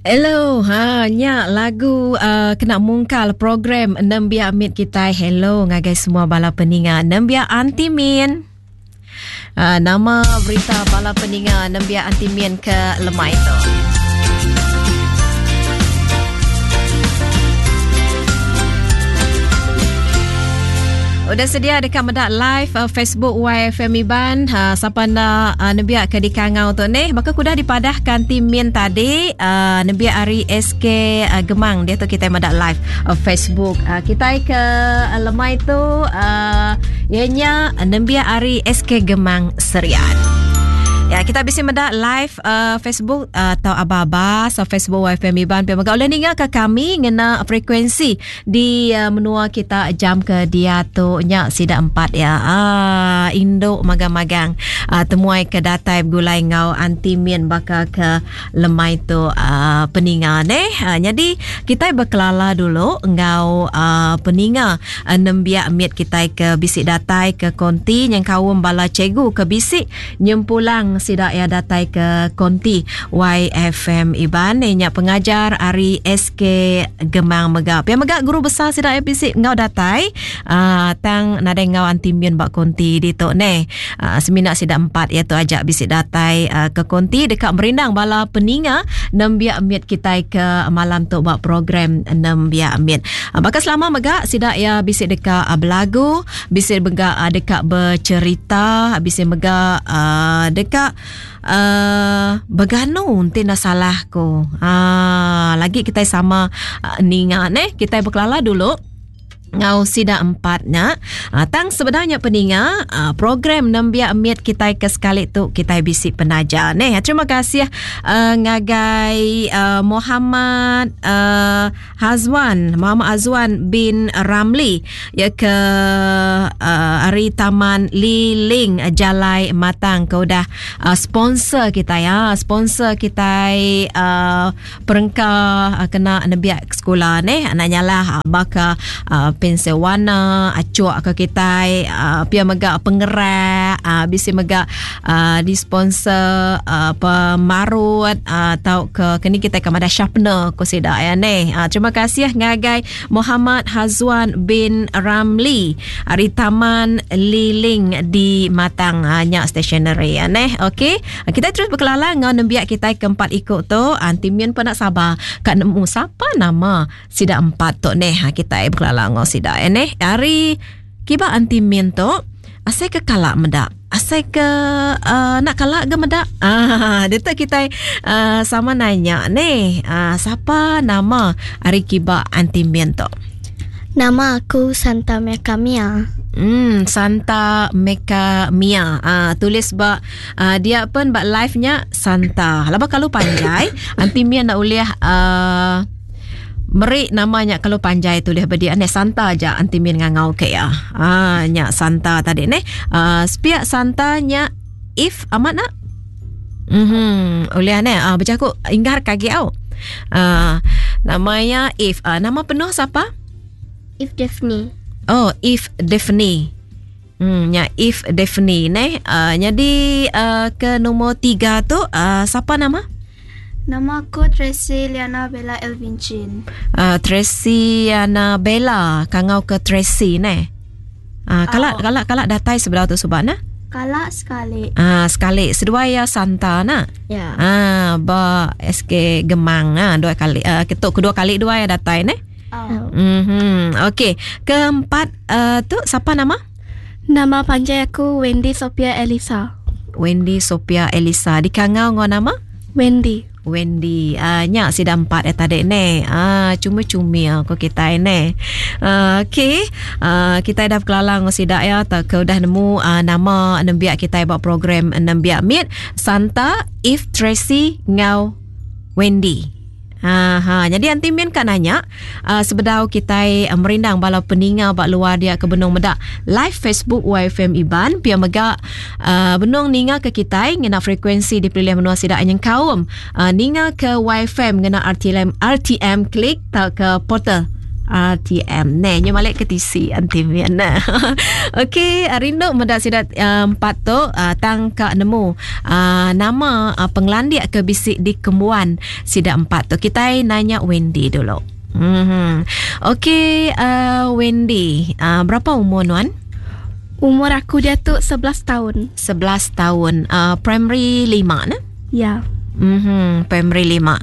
Hello, ha nya lagu uh, kena mungkal program Nembiak Mit kitai. Hello ngagai semua bala peninga Nembiak Aunty Min. Uh, nama berita bala peninga Nembiak Aunty Min ke lemai tu. Udah sedia dekat medak live uh, Facebook YFM Iban. Ha, siapa nak uh, nembiak ke dikangau tu ni? Baka kudah dipadahkan tim Min tadi, uh, nembiak ari SK uh, Gemang dia tu kita medak live uh, Facebook. Uh, kita ke uh, lemai tu uh, ianya nembiak ari SK Gemang Serian. Ya, kita bisa medak live uh, Facebook uh, atau aba-aba so Facebook YFM Iban. Pia mega oleh ninga ke kami ngena frekuensi Di uh, menua kita jam ke diatu nya sida empat ya. Ah indu magang-magang uh, temuai ke datai begulai enggau anti min baka ke lemai tu uh, peninga neh. Uh, jadi kitai bekelala dulu enggau uh, peninga uh, nembiak mit kitai ke bisi datai ke konti nyengkaum bala cikgu ke bisi Nyempulang sida iya datai ke konti YFM Iban iya nya pengajar ari SK Gemang mega. Pia mega guru besar sida iya bisi enggau datai uh, tang nadai enggau anti min ba konti ditu neh. Uh, semina sida empat iya tu aja bisi datai uh, ke konti deka merindang bala peninga nembiak mit kitai ke malam tu ba program nembiak mit. Uh, baka selama mega sida iya bisi deka uh, belagu Bisi mega uh, deka bercerita, bisi mega uh, deka uh, beganu enti enda salah ku. Uh, lagi kita sama uh, ninga neh, kita bekelala dulu ngau sida empat nya. Uh, tang sebenarnya peninga uh, program nembiak mit kita ke sekali tu kita bisi penaja neh. Terima kasih uh, ngagai uh, Muhammad uh, Hazwan, Muhammad Hazwan bin Ramli ya ke uh, hari Taman Liling Jalai Matang ke udah uh, sponsor kita ya, sponsor kita uh, perengka uh, kena nebiak sekolah ni anak nyalah uh, baka uh, pensel warna acuk ke kita uh, pia mega pengerak uh, bisi mega uh, di sponsor uh, pemarut uh, tau ke kini kita ke madah sharpener ko sida ya ne. Uh, terima kasih ngagai Muhammad Hazwan bin Ramli ari Taman Liling di Matang uh, nya stationery ya ne. Okey, uh, kita terus berkelala ngau nembiak kita keempat ikut tu. Anti Mian pun nak sabar kat nemu siapa nama sida empat tu neh. Kita berkelala ngau sida ya neh. Ari Kiba anti min tu asai ke kala meda. Asai ke uh, nak kala ge meda. Ah, dia tu kita uh, sama nanya ni. Uh, siapa nama ari kiba anti min tu? Nama aku Santa Meka Mia. Hmm, Santa Meka Mia. Ah, tulis ba uh, dia pun ba live-nya Santa. Laba kalau panjai, anti Mia nak ulih uh, Meri nama nya kalau panjai tulih bedi ane Santa aja anti min ngangau ke ya. Ah nya Santa tadi ne. Ah sepiak Santa nya if amat nak. Mhm oleh ane ah bejaku inggar kagi au. Ah namanya if ah, nama penuh siapa? If Daphne. Oh, if Daphne. Hmm, nya if Daphne ne. Uh, jadi uh, ke nombor tiga tu uh, siapa nama? Nama aku Tracy Liana Bella Elvin Chin. Uh, Tracy Liana Bella, kangau ke Tracy ne. Uh, kalak oh. kalak kalak datai sebelah tu subak na? Kalak sekali. Ah uh, sekali. Seduai ya Santa na. Ya. Ah ba SK Gemang ah dua kali uh, ketuk kedua kali dua ya datai ne. Oh. Mhm. Okey, keempat uh, tu siapa nama? Nama panjang aku Wendy Sophia Elisa. Wendy Sophia Elisa. Dikangau ngau nama? Wendy. Wendy. Uh, nya sida empat eh tadi ne. Ah uh, cuma cumi aku kita ne. Uh, okey. Uh, kita dah berkelala ngau sida ya tak ke udah nemu uh, nama nembiak kita buat program nembiak meet Santa If Tracy ngau Wendy. Ha, ha. Jadi anti min ka nanya uh, sebedau kitai uh, merindang bala peninga ba luar dia ke benung meda live Facebook YFM Iban pia mega uh, benung ninga ke kitai ngena frekuensi di pelilih menua sida nyengkaum uh, ninga ke YFM ngena RTM RTM klik tauka portal. RTM. Ne, nyu malik ke tisi anti min. Okey, rindu meda sida empat tu tang ka nemu nama pengelandik ke bisi dikembuan sida empat tu. Kitai nanya Wendy dulu. Mhm. Okey, Wendy, berapa umur nuan? Umur aku diatu 11 taun. 11 taun. Primary 5 ne? Ya. Mhm, primary 5.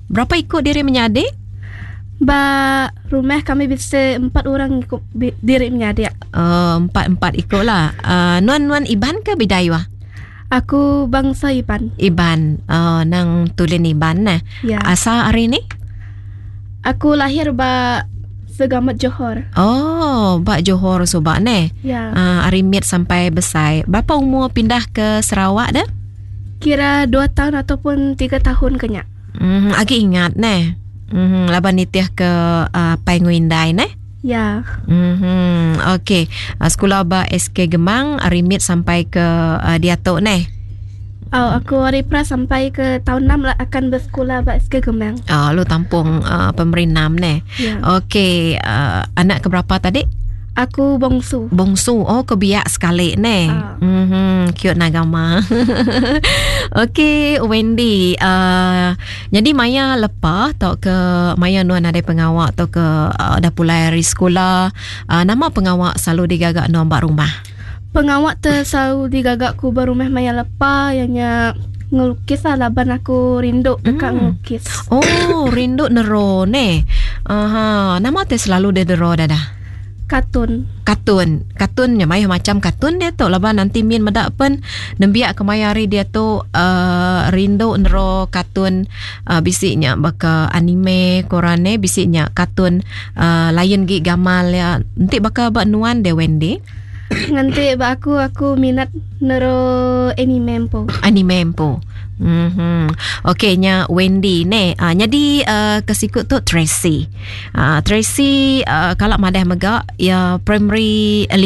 Berapa iku diri menyadi? Ba rumah kami bisi empat orang iku diri menyadi. Oh, empat-empat iku lah. Nuan nuan Iban ke Bidayuh? Aku bangsa Iban. Iban. Oh, nang tulin Iban neh. Ya. Asal ari ni? Aku lahir ba Segamat Johor. Oh, ba Johor suba neh. Ya. Ari mit sampai besai. Berapa umur pindah ke Sarawak deh? Kira dua tahun ataupun tiga tahun ke nya. Mm, agi ingat neh. Mm, laban nitih ke apai enggau indai neh. Ya. Mhm. Okey. Sekula ba SK Gemang ari mit sampai ke diatu neh. Oh, aku ari pra sampai ke tahun 6 lah akan bersekolah ba SK Gemang. Oh, lu tampung primary 6 neh. Ya. Okey, anak ke berapa tadi? Aku bongsu. Bongsu. Oh, ke biak sekali neh. Ah. Cute nagama. Okey, Wendy. Jadi maya lepa tau ke maya nuan nadai pengawa tau ke dah pulai ari sekula, nama pengawa selalu digaga nuan ba rumah? Pengawa te selalu digaga ku ba rumah maya lepa iya nya ngelukis lah laban aku rindu deka ngelukis. Oh, rindu nero neh. Aha, nama te selalu deh dero dadah? Katun. Katun. Katun nya mayuh macam katun dia tu laban nanti min meda pen nembiak kemaya hari dia tu uh, rindu nero katun uh, bisi nya baka anime koran ne bisi nya katun uh, lain gi gamal ya. Enti baka ba nuan de Wendy. Nganti ba aku aku minat nero anime empu. Anime empu. Mhm. Okey nya Wendy ne. Nyadi ke siku tu Tracy. Tracy kala madah mega iya primary 5.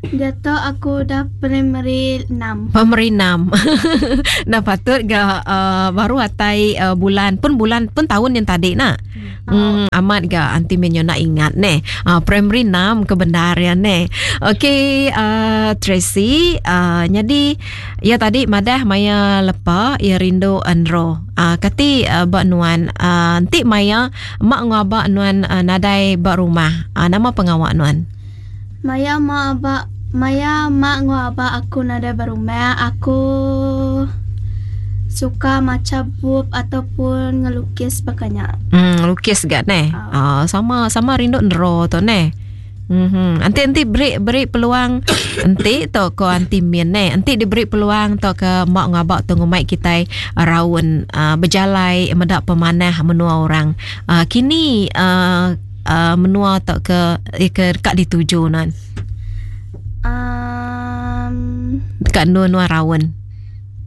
Diatu aku udah primary 6. Primary 6. Enda patut ga baru atai bulan pun bulan pun taun yang tadi nak. Hmm, amat ga anti menyo nak ingat neh. Primary 6 ke bendar ya neh. Okey, Tracy, nyadi ya tadi madah maya lepa ya rindu enro. Kati ba nuan enti maya mak enggau aba nuan nadai ba rumah, nama pengawa nuan? Maya mak aba maya mak enggau aba aku nadai ba rumah, aku suka macha bup ataupun ngelukis baka nya. Hmm, ngelukis ga neh. Oh. Sama sama rindu nero tu neh. Mhm. Enti enti beri beri peluang enti tu ko anti min neh. Enti diberi peluang tu ke mak enggau aba tu ngumbai kitai raun uh, bejalai meda pemanah menua orang. Kini uh, menua tu ke ke deka dituju nuan? Um, Deka endur nuan raun.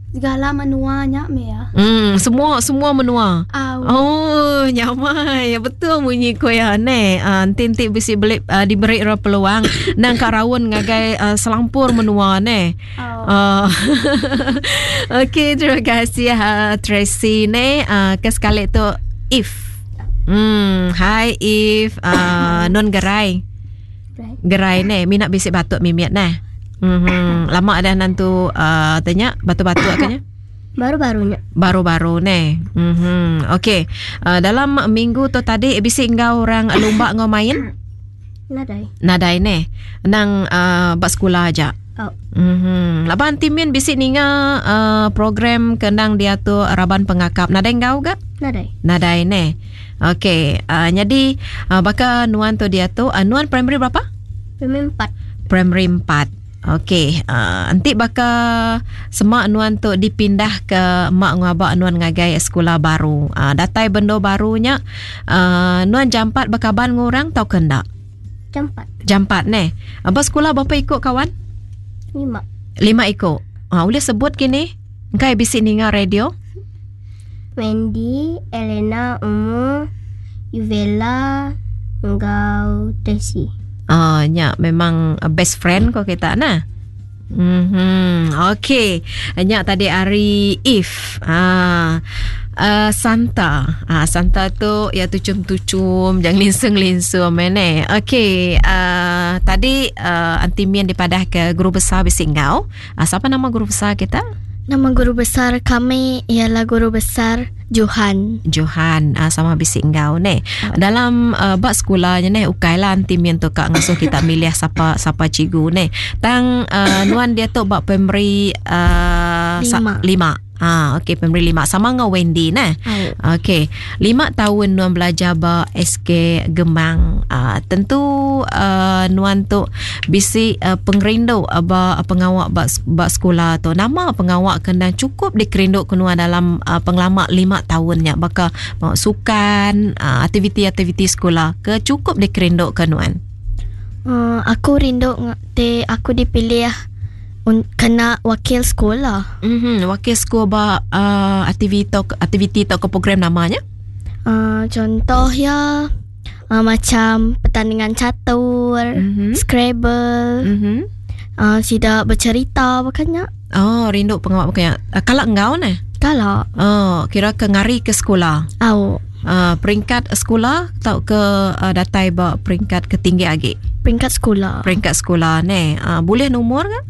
Segala menua nya meh ya. Semua semua menua. Au. Oh, nyamai. Betul munyi ko ya neh. Enti enti bisi beli diberi ra peluang nang ka raun ngagai selampur menua neh. Au. Okey, terima kasih Tracy neh. Ke sekali tu If. Hi If. Nun gerai. Gerai neh mina bisi batuk mimit neh. Mhm. Lama dah nantu tanya batuk-batuk ka nya. Baru-baru nya. Baru-baru neh. Mhm. Okey. Dalam minggu tu tadi bisi enggau orang lumba enggau main? Nadai. Nadai neh. Nang ba sekula aja. Au. Mhm. Laban ti min bisi ninga program ke endang diatur raban pengakap nadai enggau ga? Nadai. Nadai neh. Okey, nyadi baka nuan tu diatu, nuan primary berapa? Primary 4. Primary 4. Okey, enti baka sema nuan tu dipindah ke mak enggau aba nuan ngagai sekula baru. Datai bendo baru nya, nuan jampat bekaban enggau orang tauka enda? Jampat. Jampat neh. Ba sekula berapa iku kawan? 5. 5 iku. Ulih sebut kini? Engkai bisi ninga radio? Wendy, Elena, Umu, Yuvela enggau Tracy. Oh, nya memang best friend ko kita nah. Mhm. Okey. Nya tadi ari If. Ah. Uh, Santa. Ah, Santa tu ya tuchum-tuchum, jangan linsung-linsung mene. Okey, uh, tadi uh, Aunty Min dipadah ke guru besar bisi enggau. Uh, siapa nama guru besar kita? Nama guru besar kami ialah guru besar Johan. Johan uh, sama bisi enggau ne. Dalam uh, bak sekolah nya ne ukai lah anti min tu ka ngasuh kita milih sapa sapa cikgu ne. Tang uh, nuan dia tu bak primary uh, lima. lima. Ah, okey primary lima sama enggau Wendy ne. Okey, lima tahun nuan belajar ba SK Gemang. Uh, tentu uh, nuan tu bisi uh, pengerindu uh, ba pengawa ba, ba sekolah tu. Nama pengawa ke endang cukup dikerindu ke nuan dalam uh, pengelama lima tahun nya baka uh, sukan, uh, aktiviti-aktiviti sekolah ke cukup dikerindu ke nuan? Uh, aku rindu te aku dipilih un, kena wakil sekolah. Mhm, wakil sekolah ba uh, aktiviti aktiviti atau ke program namanya? Uh, contoh ya uh, macam pertandingan catur, mm-hmm. Scrabble. Mm-hmm. Uh, sidak bercerita bukannya. Oh, rindu pengawak bukannya. Uh, kalau engkau ne? Kalau. Oh, kira ke ngari ke sekolah. Au. Peringkat sekolah atau ke uh, datai ba peringkat ke tinggi lagi? Peringkat sekolah. Peringkat sekolah ne. Uh, boleh nomor ke?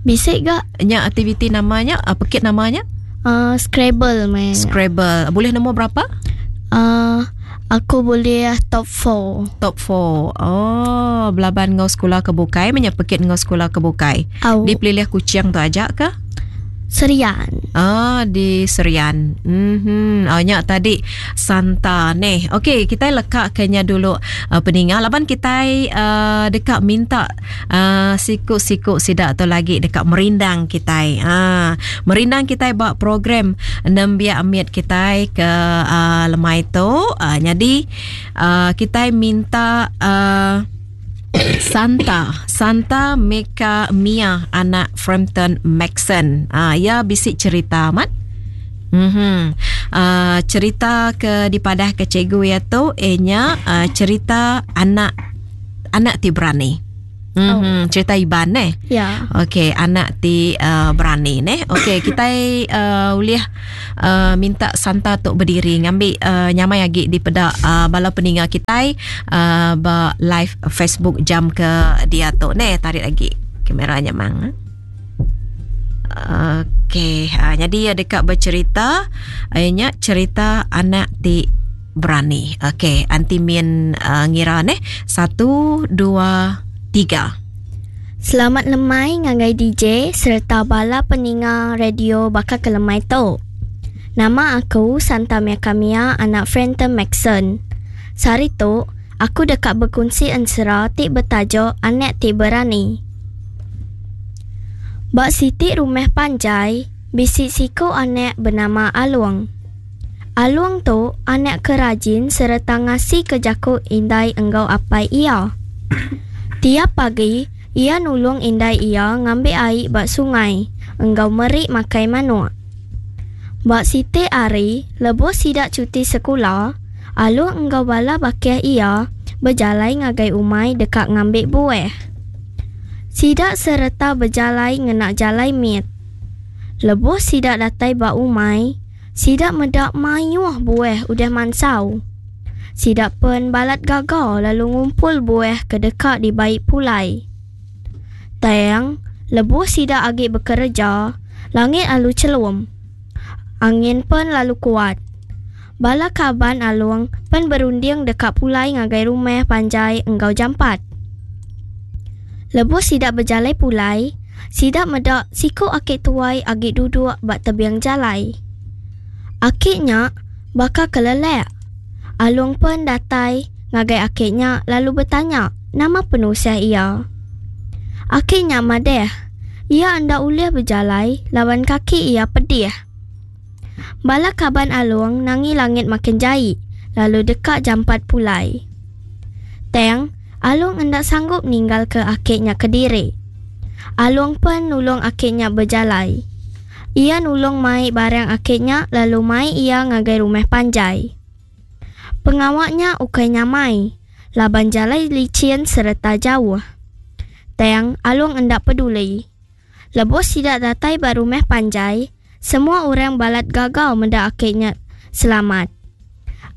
Bisik gak? Nya aktiviti namanya, uh, pekit namanya? Uh, Scrabble main. Scrabble. Boleh nombor berapa? Uh, aku boleh top 4. Top 4. Oh, belaban ngau sekolah ke bukai, menyepekit ngau sekolah ke bukai. Au. Di pelilih kucing tu ajak ke? Serian. Ah, di Serian. Mhm. Oh, nya tadi Santa ni. Okey, kita lekak kenya dulu uh, peninga. Laban kita uh, dekat minta uh, siku-siku sidak tu lagi dekat merindang kita. Ah, merindang kita buat program nembiak amit kita ke uh, lemai tu. Uh, jadi uh, kita minta uh, Santa Santa Meka Mia anak Frampton Maxon. Ah, ya bisik cerita amat. Mhm. Uh, cerita ke dipadah ke cikgu ya tu enya uh, cerita anak anak ti berani. Mhm, oh. Cerita Iban ne. Ya. Okey, anak ti uh, berani ne. Okey, kita uh, boleh uh, minta Santa tok berdiri ngambil uh, nyamai lagi di pedak uh, bala peninga kita uh, ba live Facebook jam ke dia tu ne tarik lagi kameranya mang. Okey, uh, jadi dekat bercerita akhirnya cerita anak ti berani. Okey, anti min uh, ngira ne. 1 2 3. Selamat lemai ngagai DJ serta bala peninga radio bakal ke lemai tu. Nama aku Santa Mia Kamia anak Frenton Maxon. Sari tu aku dekat berkongsi ensera ti bertajuk Anak Ti Berani. Bak siti rumah panjai, bisik siku anak bernama Aluang. Aluang tu anak kerajin serta ngasi ke jaku indai enggau apai ia. Tiap pagi, ia nulung indai ia ngambil air bak sungai, enggau merik makai manuk. Bak siti ari, lebuh sidak cuti sekolah, Aluang enggau bala bakih ia berjalai ngagai umai dekat ngambil buah. Sidak serta berjalai ngenak jalai mit. Lebuh sidak datai bak umai, sidak medak mayuh buah udah mansau. Sidak pen balat gagal lalu ngumpul buah ke dekat di baik pulai. Tang, lebuh sidak agi bekerja, langit alu celum. Angin pen lalu kuat. Bala kaban aluang pen berunding dekat pulai ngagai rumah panjai enggau jampat. Lebuh sidak berjalai pulai, sidak medak siku akik tuai agi duduk bak tebiang jalai. Akiknya bakal kelelek. Alung pun datai ngagai akiknya lalu bertanya nama penusiah ia. Akiknya madeh, ia anda ulih berjalai lawan kaki ia pedih. Bala kaban Alung nangi langit makin jai, lalu dekat jampat pulai. Teng, Alung hendak sanggup ninggal ke akiknya ke diri. Alung pun nulung akiknya berjalai. Ia nulung mai barang akiknya lalu mai ia ngagai rumah panjai. Pengawaknya ukai nyamai, laban jalai licin serta jauh. Teng, Alung hendak peduli. Lebuh sida datai ba rumah panjai, semua orang balat gagau meda aki nya selamat.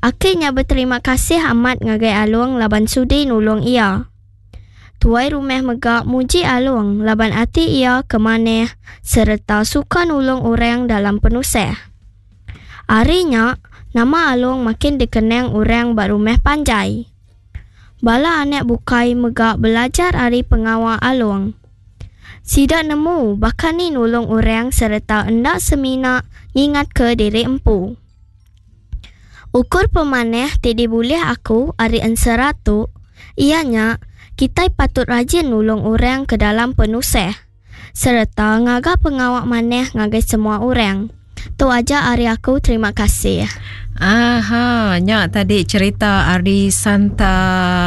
Aki nya beterima kasih amat ngagai Along laban sudi nulung iya. Tuai rumah mega muji Along laban ati iya ke manah sereta suka nulung orang dalam penusah. Ari nya, nama Along makin dikenang orang ba rumah panjai. Bala anak bukai mega belajar ari pengawa Along. Sida nemu baka ni nulung orang sereta enda semina ngingatka diri empu. Ukur pemanah ti dibulih aku ari ensera tu iya nya kitai patut rajin nulung orang ke dalam penusah sereta ngaga pengawa manah ngagai semua orang. Tu aja ari aku terima kasih. Aha, nya tadi cerita ari Santa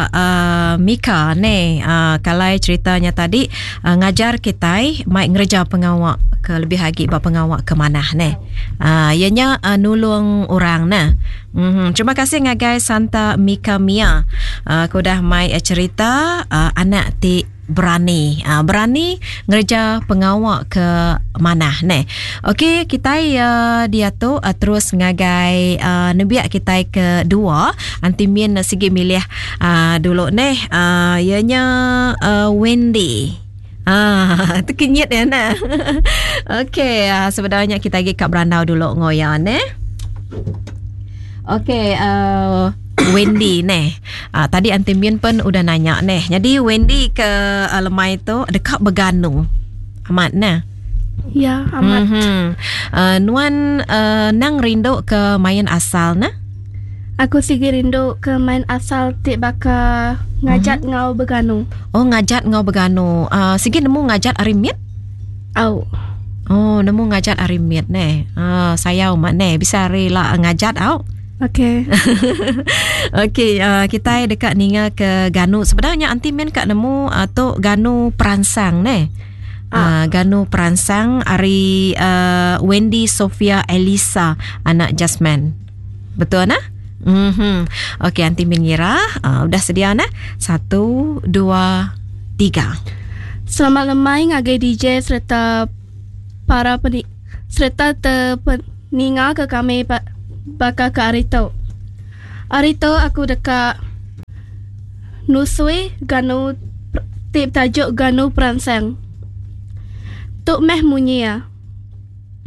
uh, Mika ne. Uh, kalai cerita nya tadi uh, ngajar kitai mai ngereja pengawa ke lebih agi ba pengawa ke manah ne. Uh, iya nya uh, nulung orang ne. Mm-hmm. Terima kasih ngagai Santa Mika Mia uh, ke udah mai cerita uh, anak ti berani. Uh, berani ngereja pengawa ke manah neh. Okey, kitai uh, diatu uh, terus ngagai uh, nembiak kitai ke dua. Anti Min sigi milih uh, dulu neh. Uh, ianya uh, Wendy. Ah, terkenyit ya nah. Okey, uh, sebenarnya kita lagi kat berandau dulu ngoya neh. Okey, uh, Wendy neh. Uh, tadi Aunty Min pun udah nanya neh. Jadi Wendy ke uh, lemai tu dekat beganu. Amat neh. Ya, amat. Mm-hmm. Uh, nuan uh, nang rindu ke main asal neh? Aku sigi rindu ke main asal ti baka ngajat mm-hmm. ngau beganu. Oh, ngajat ngau beganu. Uh, sigi nemu ngajat ari mit? Au. Oh, nemu ngajat ari mit neh. Uh, sayau mak neh bisa ari la ngajat au. Okey. Okey, uh, kita deka ninga ke ganu. Sebenarnya anti min ka nemu uh, tu ganu peransang neh. Uh, ganu peransang ari uh, Wendy Sofia Elisa anak Jasmine. Betul nah? Mhm. Okey, anti min ngira uh, udah sedia nah. Satu, dua, tiga. Selamat lemai ngagai DJ sereta para peni sereta te peninga ke kami baka ke ari tu. Ari tu aku deka nusui ganu ti betajuk Ganu Peransang. Tu meh munyi iya.